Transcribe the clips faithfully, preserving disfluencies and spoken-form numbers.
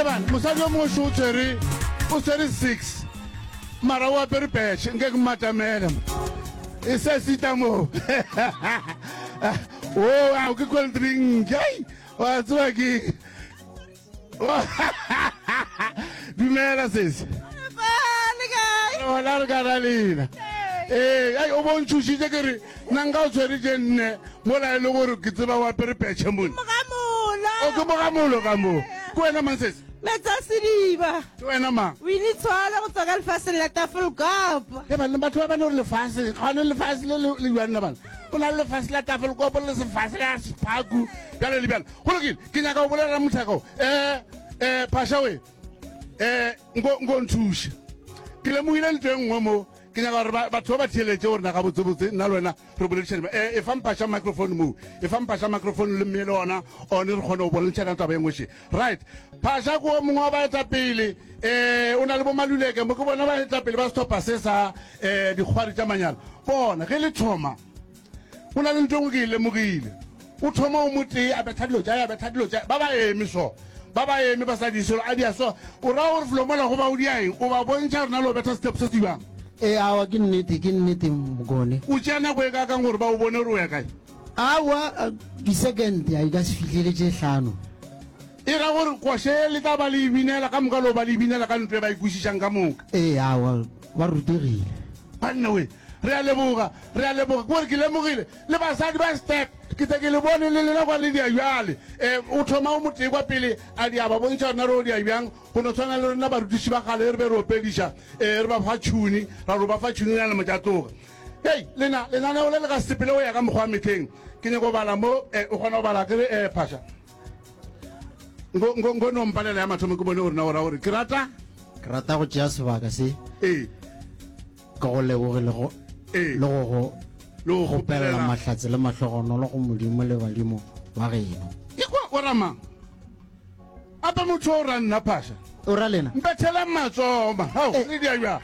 Eban mosadi yo mongwe šo o tshwere o tshwere six mara o apere petšhe nke ke mmatamele e se sita mo o ao ke cold drink ai wa tseba ke dumela sesi gona re ka ra lena ee ai o bontšhošitše ke re nna nka o tshwere tše nne mola e le gore ke tseba o apere petšhe mone o ke mogamolo ka moo ke wena mang sesi Metsa sediba. Ke wena mang? Winnie Tshwala go tswa ka lefaseng la Tafelkop. Ke banna batho ba bane gore lefase gane lefase le le jwang na bana go na le lefase la Tafelkop le sefase la Sephaku bjale le bjale go lokile ke nyaka go bolela mothako um um phasha we um nko nko nthuše ke lemogile ntho e nngwe mo ke nyaka gore batho ba ba theeletše gore na gabotsebotse nna le wena re boledišane e e fa mphaša microphone moo e fa mphaša microphone le mme le ona one re kgone go boledišana taba e nngwe še right phasha ko mongwe wa baetapele um o na le bomaluleke mo ke bona baetapele ba setlhopha se sa um dikgwari tša manyalo bona ge le thoma go na le ntho e nngwe ke e lemogile o thoma o motee a betha dilo tša a betha dilo tša ba ba eme so ba ba eme ba sa di selo a dia so o raya gore felo mola go ba o dia eng o ba bontšha rena le o betha step se se bjang Ee, aowa, ke nnete, ke nnete, Mokone. O tšea nako e kaakang gore ba o bone gore o ya kae? Aowa, di-second a di ka se fihlele tše hlano. E ra gore koša ye le tla ba le e binela ka moka le go ba le e binela ka ntlo e ba e kwešišang ka moka. Ee, aowa, ba rutegile. Banna we, re a leboga, re a leboga. Ke gore ke lemogile le basadi ba step, ke tle ke le bone le lena kwa le dia bjale. Um o thoma o motee kwa pele a dia ba bontšha gore na re o dia bjang. Go no tshwana le rena barutiši ba kgale ge re be re opediša, ee, re ba fa tšhuni, ra re o ba fa tšhuni na le motšatloga. Hei, lena, lenaneo le le ka se sepele go ya ka mokgwa wa mehleng. Ke nyako go bala mo, eh, o kgona go bala ke re, eh, Phasha? Nko, nko, nko no mpalela ya mathomo ke bone gore na o ra gore ke rata. Ke rata go tšea sebaka se. Ee. Ke go leboge le go, Ee. le go go Le go kgopelela kgopelela. mahlatse le mahlogonolo go Modimo le badimo ba geno. Ekwa, o ra mang? Ape motho o ra nna phasha. O ra lena? Mpethelang matsogo ma. Hao, le dia bjang?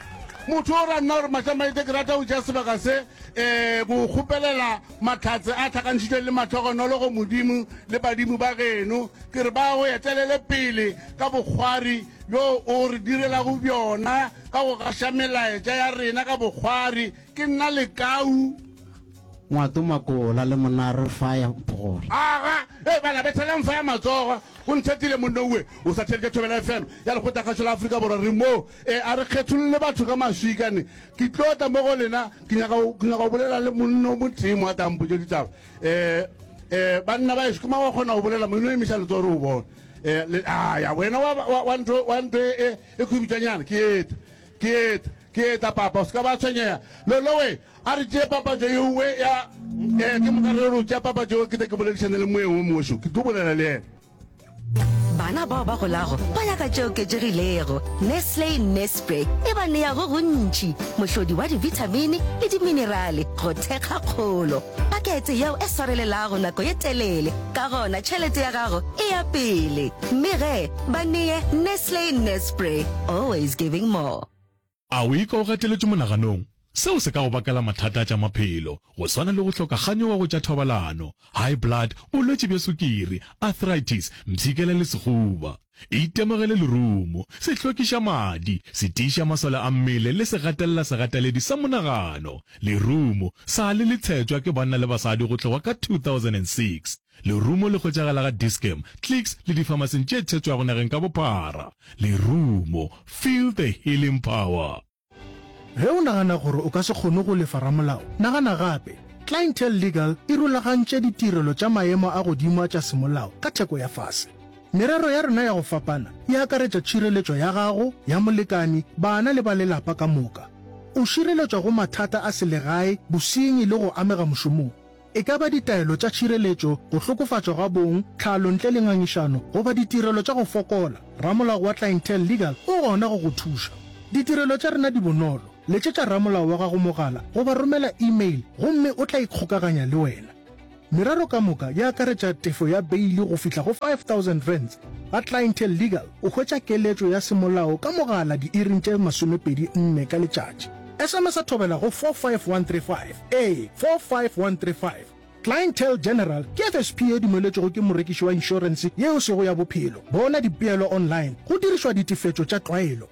Motho o ra nna gore Mašamaite ke rata go tšea sebaka se um go kgopelela mahlatse a hlakantšhitšweng le mahlogonolo go Modimo le badimo ba geno. Ke re ba go etelele pele ka bokgwari bjo o re direlago bjona ka go gaša melaetša ya rena ka bokgwari. Ke nna Lekau. Ngwato Makola le Monare Fire Mphogola. Aga, hei bana, bethelang fire matsogo. O nthetile monna owe. O sa theletše Thobela F M ya Lekgotlakgašo la Afrika Borwa. Re mo. E, a re kgetholle batho ka maswika ne. Ke tlo tla mo go lena, ke nyaka go, ke nyaka go bolela le monna o motee mo a tla mpotša ditaba. E, e, banna ba ešo, ke mang wa kgona go bolela mo? E no emiša letsogo re o bone. E, le, a ya, wena wa, wa, wa ntho, wa ntho e, e, e khubitšwanyana. Ke eta, ke eta, ke eta, papa. O se ka ba tshwenyega. Lolowe, A re tšee papatšo ye nngwe ya, eh, ke moka re re o tšea papatšo yeo ke tle ke boledišane le moeng wo mongwe šo. Ke tlo bolela le yena. Bana bao ba golago ba nyaka tše oketšegilego. Nestle Nespre e ba nea go gontši, mohlodi wa dibithamini le diminerale go thekga kgolo. Pakete yeo e swarelelago nako ye telele, ka gona tšhelete ya gago e ya pele. Mme ge, ba nee Nestle Nespre, always giving more. A o ikwa o gateletšwe monaganong? Seo se ka go bakela mathata a tša maphelo, go swana le go hloka kganyogo go tša thobalano, high blood, bolwetši bja sukiri, arthritis, mpshikela le sehuba. Itemogele lerumo, se hlwekiša madi, se tiiša masole a mmele le se gatelela segateledi sa monagano. Lerumo sa le le tshetšwa ke banna le basadi go tloga ka two thousand and six Lerumo le hwetšagala ga Dis-Chem, Clicks le difamasing tše tshetšwago nageng ka bophara. Lerumo, feel the healing power. Ge o nagana gore o ka se kgone go lefa ramolao, nagana gape. Clientele Legal e rulagantše ditirelo tša maemo a godimo a tša semolao ka theko ya fase. Merero ya rena ya go fapana e akaretša tšhireletšo ya gago, ya molekani, bana le ba lelapa ka moka. O šireletšwa go mathata a selegae, bosenyi le go amega mošomong. E ka ba ditaelo tša tšhireletšo, go hlokofatšwa ga bong, tlhalo ntle le ngangišano, goba ditirelo tša go fokola, ramolao wa Clientele Legal o gona go go thuša. Ditirelo tša rena di bonolo, letšetša ramolao wa gago mogala goba romela e-mail gomme o tla ikgokaganya le wena. Merero ka moka e akaretša tefo ya beili go fihla go five thousand rands. Ga Clientele Legal o hwetša keletšo ya semolao ka mogala diiring tše masomepedi nne ka letšatši. S M S-a thobela go four five one three five, ee, four five one three five, Clientele General ke F S P ye dumeletšwego ke morekiši wa inšorense ye e sego ya bophelo. Bona dipeelo online go dirišwa ditefetšo tša tlwaelo.